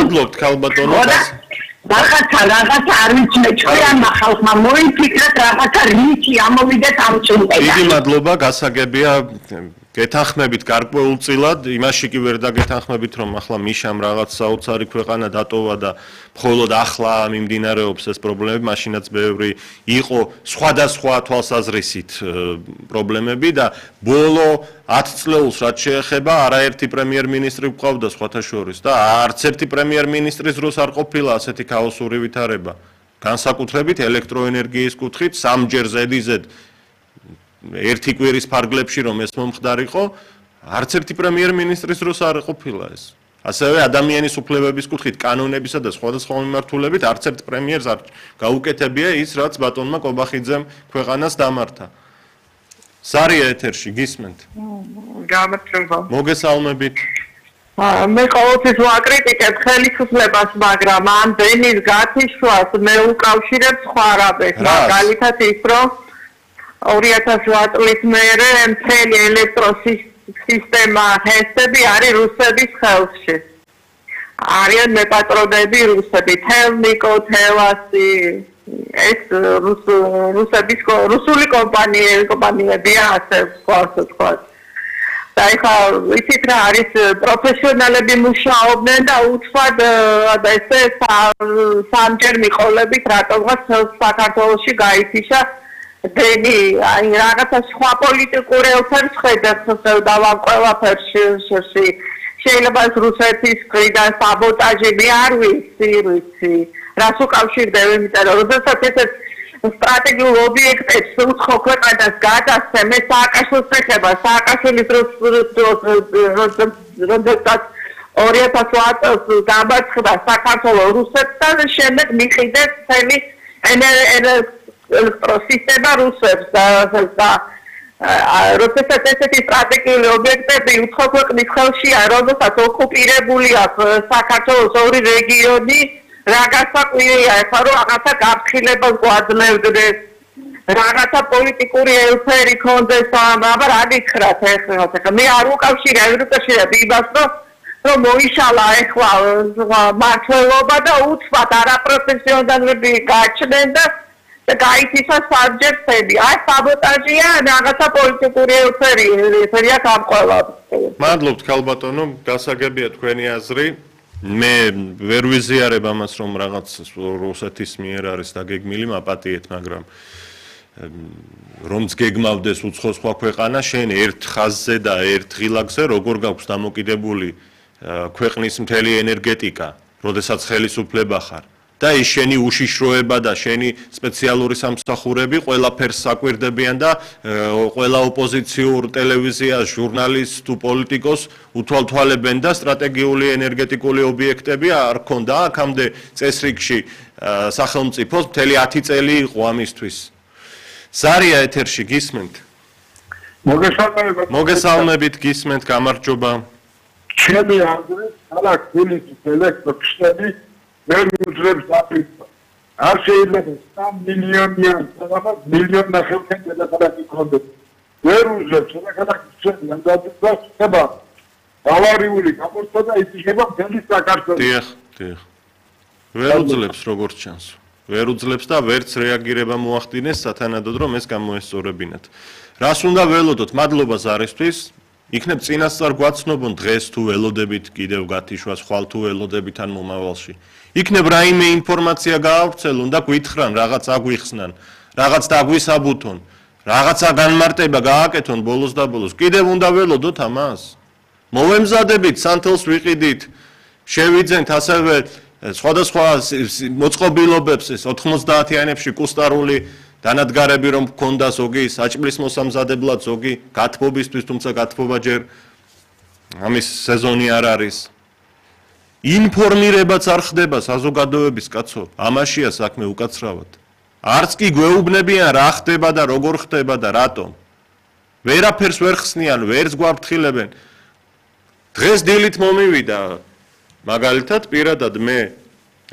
მადლობთ ქალბატონო. რაღაცა არ ვიცი ჩვენმა ხალხმა მოიფიქრეთ რაღაცა რითი ამოვიდეთ ამ წუნდიდან. დიდი მადლობა, გასაგებია. გეთანხმებით გარკვეულწილად, იმაში კი ვერ დაგეთანხმებით, რომ ახლა მიშამ რაღაც საოცარი ქვეყანა დატოვა და მხოლოდ ახლა მიმდინარეობს ეს პრობლემები, მაშინაც ბევრი იყო სხვადასხვა თვალსაზრისით პრობლემები და ბოლო 10 წლეულს რაც შეეხება, არაერთი პრემიერ-მინისტრი გვყავდა სხვათა შორის და არც ერთი პრემიერ-მინისტრის დროს არ ყოფილა ასეთი ქაოსური ვითარება. განსაკუთრებით ელექტროენერგიის კუთხით, სამჯერ ზედიზედ ერთი კვირის ფარგლებში რომ ეს მომხდარიყო, არც ერთი პრემიერ-მინისტრის დროს არ ყოფილა ეს. ასევე ადამიანის უფლებების კუთხით, კანონებისა და სხვადასხვა მიმართულებით არც ერთ პრემიერს არ გაუკეთებია ის, რაც ბატონმა კობახიძემ ქვეყანას დამართა. სარია ეთერში, გისმენთ? გამარჯობა. მოგესალმებით. მე ყოველთვის ვაკრიტიკებ ხელისუფლებას, მაგრამ ამ დენის გათიშვას მე უკავშირებ სხვა რამებს, მაგალითად ის, რომ 2008 წლის მერე მთელი ელექტროსისტემა ჰესები არის რუსების ხელში. არიან მეპატრონები რუსები, თელნიკო, თელასი, ეს რუსული კომპანიებია, ასე სხვა. და ეხლა იცით რა არის პროფესიონალები მუშაობდნენ და უცბად ესე სამჯერ მიყოლებით რატომღაც საქართველოში გაითიშა დენი, აი რაღაცა სხვა პოლიტიკური ელფერს ხედავს დავამ ყველაფერში. შეიძლება რუსეთის მხრიდან საბოტაჟი მე არ ვიცი. რას უკავშირდება, იმიტომ რომ როდესაც ესეთ სტრატეგიულ ობიექტებს უცხო ქვეყანას გადასცემ, ეს სააკაშვილს ეხება, სააკაშვილის როდესაც 2008 წელს დამარცხდა საქართველოს რუსეთთან, შემდეგ მიყიდეს მთელი ელექტროსისტემა რუსებს და როდესაც ესეთი სტრატეგიული ობიექტები უცხო ქვეყნის ხელშია, როდესაც ოკუპირებული აქვს საქართველოს ორი რეგიონი, რა გასაკვირია, ეხლა რომ რაღაცა გაფრთხილებას გვაძლევდნენ, რაღაცა პოლიტიკური ელფერი ქონდეს, აბა რა გითხრათ ეხლა, მე არ უკავშირებ იმას, რომ მოიშალა ეხლა მართლობა და უცბად არაპროფესიონალები გაჩნდნენ და გაითიშა საბჯერ ცები. აი საბოტაჟია, რაღაცა პოლიტიკური ელფერია გამყოლად. მადლობთ ქალბატონო, გასაგებია თქვენი აზრი. მე ვერ ვიზიარებ ამას, რომ რაღაც რუსეთის მიერ არის დაგეგმილი მაპატიეთ, მაგრამ რომც გეგმავდეს უცხო სხვა ქვეყანა, შენ ერთ ხაზზე და ერთ ღილაკზე როგორ გაქვს დამოკიდებული ქვეყნის მთელი ენერგეტიკა, როდესაც ხელისუფლება ხარ. და ის შენი უშიშროება და შენი სპეციალური სამსახურები ყველაფერს საკვირდებიან და ყველა ოპოზიციურ ტელევიზიას, ჟურნალისტს თუ პოლიტიკოს უთვალთვალებენ და სტრატეგიული ენერგეტიკული ობიექტები არ ქონდა აქამდე წესრიგში სახელმწიფოს მთელი 10 წელი იყო ამისთვის. სარია ეთერში, გისმენთ? მოგესალმებით, გისმენთ, გამარჯობა. ჩემი აზრით, ქალაქ თბილისის ელექტროსისტემი ვერ უძლებს აფრიკას. არ შეიძლება 3 მილიონიან სადღაც მილიონ ნახევართან დედაქალაქი ქონდეს. ვერ უძლებს დედაქალაქის ჩვენიდან და ავარიული გამოსვლა და ითიშება მთელი საქართველო. დიახ. ვერ უძლებს როგორც ჩანს. ვერ უძლებს და ვერც რეაგირება მოახდინეს სათანადოდ რომ ეს გამოესწორებინათ. რას უნდა ველოდოთ? მადლობა ზარისთვის. იქნებ წინასწარ გვაცნობონ დღეს თუ ველოდებით კიდევ გათიშვას, ხვალ თუ ველოდებით ან მომავალში. იქნებ რაიმე ინფორმაცია გაავრცელონ და გვითხრან, რაღაც აგვიხსნან, რაღაც დაგვისაბუთონ, რაღაცა განმარტება გააკეთონ ბოლოს და ბოლოს. კიდევ უნდა ველოდოთ ამას? მოვემზადებით, სანთელს ვიყიდით, შევიძენთ ასევე სხვადასხვა მოწყობილობებს 90-იანებში კუსტარული დანადგარები რომ გქონდა ზოგი საჭმლის მოსამზადებლად, ზოგი გათბობისთვის, თუმცა გათბობა ჯერ ამის სეზონი არ არის. ინფორმირებაც არ ხდება საზოგადოების კაცო, ამაშია საქმე უკაცრავად. არც კი გვეუბნებიან რა ხდება და როგორ ხდება და რატომ. ვერაფერს ვერ ხსნიან, ვერც გვაფრთხილებენ. დღეს დილით მომივიდა მაგალითად პირადად მე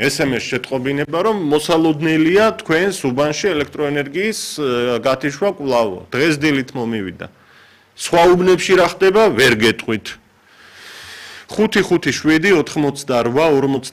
SMS შეტყობინება რომ მოსალოდნელია თქვენს უბანში ელექტროენერგიის გათიშვა კვლავ. დღეს დილით მომივიდა. სხვა უბნებში რა ხდება ვერ გეტყვით. 557 88